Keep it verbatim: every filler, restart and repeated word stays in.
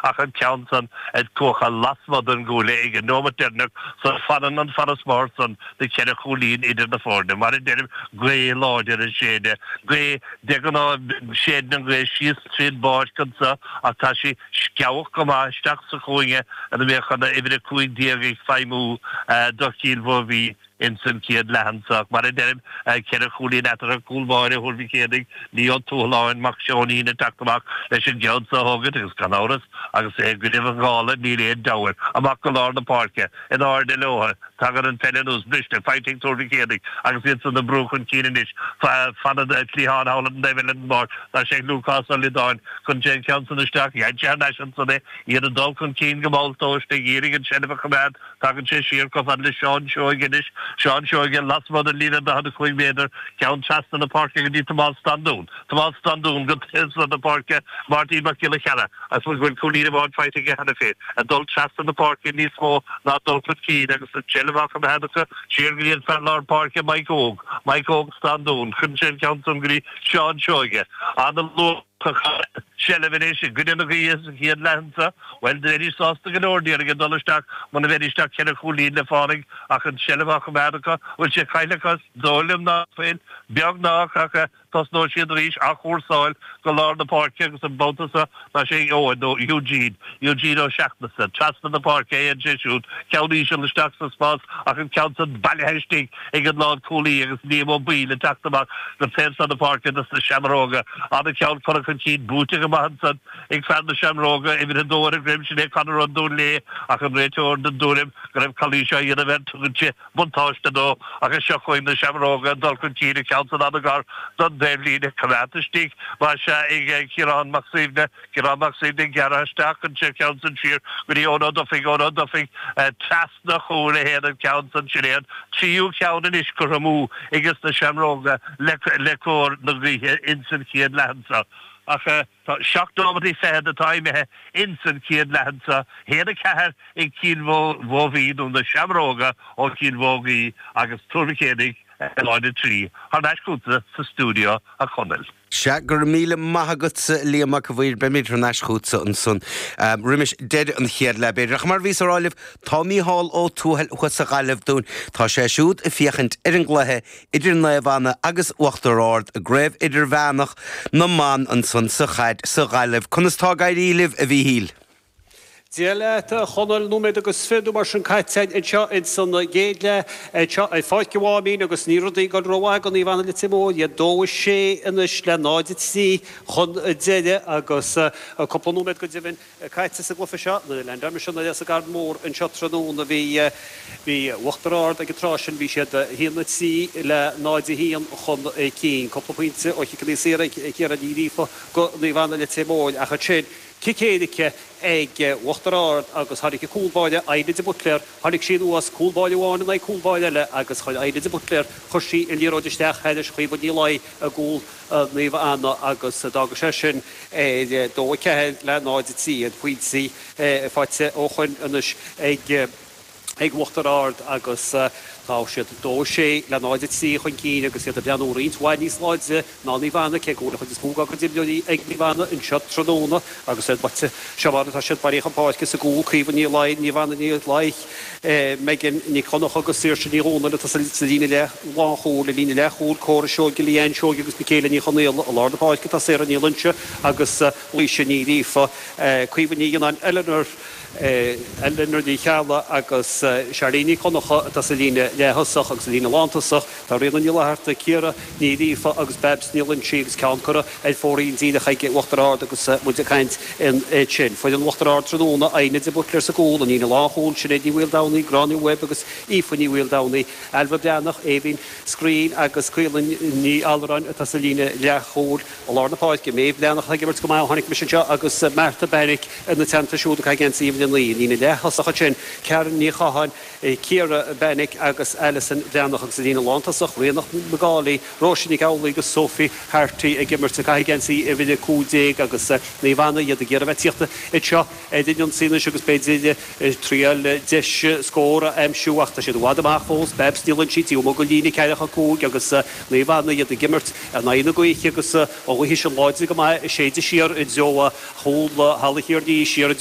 ach an ceann san ag cuachadh lasmuigh den gcuaille ag an nóiméad deireanach so fanann an farasbarr san de cheithre chúilín idir na foirne. Mar a deirim, gaoth láidir ag séideadh, gaoth de ghnáth séideann an ghaoth síos tríd an bpáirc anso ach tá sí sceabhach go maith isteach sa chúinne ina mbeadh an uimhir a cúig déag ag feidhmiú do Chill Mhóibhí ins an chéad leath anso. Mar a deirim, ceithre chúilín eatarthu, cúl báire Thuar Mhic Éadaigh, Leo Ó Tuathaláin, mac Seoinín ag teacht amach leis an gceann so a thógaint agus gan amhras agus é i gcoinnibh an ghála níl aon deabhadh air. Amach go lár na páirce, in airde leo, tagann an pheil anuas, briste, faighte ag Tuar Mhic Éadaigh agus iad san ag brú chun cinn anois. Fanann cliathán thall ar an dtaobh eile den bpáirc, tá sé ag Lúcás Ó Liodáin, cuireann sé an ceann san isteach, ghein sé thar n-ais ansan é, iad ag dul chun cinn go mall tomhaiste ag iarraidh an tseilbh a choimeád, Tagann sé siar chomh fada le Seán Seoige anois, Seán Seoige lasmuigh den líne daichead a cúig méadar, ceann trasna na páirce go dtí Tomás Standún. Tomás Standún go taobh seo na páirce, Máirtín Mac Giolla Chearra, I suppose go bhfuil cúilín amháin faighte aige cheana féin, ag dul trasna na páirce níos mó ná dul chun cinn agus an tseilbh á choimeád acu siar go dtí an fear lár páirce Mike Óg, Mike Óg Standún, cuireann sé an ceann san go dtí Seán Seoige. Ana-luath. Seilbh anois i gcoinne na gaoithe sa chéad leath anseo. Bhuel, bheidís sásta go leor, déarfainn, ag dul isteach muna mbeidís ach ceithre chúilín le fánaidh ach an tseilbh á choimeád acu. Bhfuil sé caillte acu? Is dóigh liom ná fuil. Beagnach, ach tosnóidh siad arís athchúrsáil go lár na páirce agus an babhta seo tá sé ag Eoin nó Eugene, Eugene Ó Seachnasaigh. Trasna na páirce a théann sé siúd, ceann íseal isteach sa spás ach an ceann san bailithe istigh ag an lánchúlaí agus Liam Ó Baoill ag teacht amach go taobh seo na páirce dos na Seamróga. Ana-cheann curtha chun cinn, buaite go maith ansan ag fear na Seamróga, uimhir a dó ar a dhroim, sin é Conor Ó Dúnléith ach an réiteoir den dtuairim go raibh calaois á dhéanamh air, tugann sé buntáiste dó agus seo chugainn na Seamróga ag dul chun cinn, an ceann san an-ghar don taobhlíne, coimeádta istigh más ea ag Ciarán Mac Suibhne, Ciarán Mac Suibhne ag gearradh isteach an ceann san siar go dtí Eoin Ó Dufaigh, Eoin Ó Dufaigh trasna a chúil a théann an ceann san, sin é an tríú ceann anois curtha amú ages na Seamróga le cóir na gaoithe ins an chéad leath anso. Ach tá seacht nóimeataí fichead atá imithe ins an chéad leath anso, haon a ceathair ag Cill Mhóibhí nó na Seamróga ó Chill Mhóibhí agus Tuar Mhic Éadaigh náid a trí. Thar n-ais chugatsa sa stiúideo a Chonaill. Sea, go raibh míle maith agatsa, Liam Mac a' Mhaoir. Beimid thar n-ais chugatsa ansan roimis deireadh an chéad leath, b'fhéidir. Ach mar a bhíos a rá libh, tá Mícheál Ó Tuathail thuas sa Ghaillimh dúinn. Tá sé siúd ag féachaint ar an gcluiche idir Naomh Anna agus Uachtar Ard i gCraobh Idirmheánach na mBan ansan sa chaid sa Ghaillimh. Conas tá ag éirí libh, a Mhíchíl? Dia leat, a Chonaill, nóiméad agus fiche nó mar sin caite anseo ins an gcéad leath anseo ar Pháirc an Mháimín agus níl rudaí ag dul rómhaith do Naomh Anna Leitir Móir, iad dó a sé anois le náid a trí chun deiridh agus cúpla nóiméad go deimhin caite sa gcluiche seo. Nuair a leaindeáil mise anuas sa gCarn Mór anseo tráthnóna bhí bhí Uachtar Ard ag an tráth sin, bhí siad a haon a trí le náid a haon chun cinn. Cúpla pointe ó chiceanna saora ag Ciara Ní Ghríofa do Naomh Anna Leitir Móir ach ansin cic éirice ag Uachtar Ard agus tháinig an cúl báire, Eilidh de Buitléar, tháinig sí anuas, cúl báire amháin in aghaidh cúl báire eile agus chuir Eilidh de Buitléar, chuir sí an liathróid isteach thairis Chaoimhe Ní Laoi i gcúl Naomh Anna agus d'fhága sé sin ar dó a ceathair le náid a trí, an pointí faighte ó shoin anois ag. ag Uachtar Ard agus tá siad dó a sé le náid a trí chun cinn agus iad ag breathnú roinnt mhaith níos láidre ná Naomh Anna, cé go bhfuil an chuid is mó dá gcuid imreoirí ag Naomh Anna anseo tráthnóna agus iad baite. Seo mar atá siad bailithe chun páirce sa gcúl, Caoimhe Ní Laoi, Naomh Anna Ní Laoi, Megan Nic Dhonncha agus Saoirse Ní Dhomhnaill atá sa líne leath lánchúil, i líne leathchúil, Córa Seoige, Leanne Seoige agus Michaela Ní Chonaola. I lár na páirce tá Sarah Ní Loinsigh agus Laoise Ní Ghríofa, Caoimhe Ní Fhionnáin, Eleanor. Eleanor Ní Cheallaigh agus Charlene Nic Dhonncha atá sa líne leath-thosach agus sa líne lántosach tá Ríona Ní Fhlatharta, Ciara Ní Ghríofa agus Babs Ní Loinsigh agus ceann curtha ar fóraoil díreach ag Uachtar Ard agus muid ag caint ansin. Foireann Uachtar Ard tráthnóna, Aine de Buitléar sa gcúl, an líne lánchúil, Sinéad Ní Mhaoldomhnaigh, Gráinne Webb agus Aoife Ní Mhaoldomhnaigh, Ailbhe Breathnach, Aoibhinn Screen agus Caoilinn Ní Allmhuráin atá sa líne leathchúil. I lár na páirce, Méabh Breathnach atá ag imirt go maith ó tháinig mise anseo agus Martha Bannick ina teannta siúd ag caitheamh geansaí uimhir a naoi. Líne leath-thosach ansin, Karen Ní Chatháin, Ciara Bannick agus Alison Breathnach agus i líne lántosach, Ríonach McAuley, Róise Nic Amhlaoibh agus Sophie Harty ag imirt ag caitheamh geansaí uimhir a cúig déag agus Naomh Anna, iad ag iarraidh a bheith ag tíocht anseo ar an ionsaí anois agus b'fhéidir triail deis scór a aimsiú ach tá siad i bhfad amach fós. Babs Ní Loinsigh taobh amuigh den líne ceathracha cúig agus Naomh Anna, iad ag imirt in aghaidh na gaoithe agus an ghaoth sin láidir go maith ag séideadh siar i dtreo chúl Halla Thiar Ní, siar i dtreo.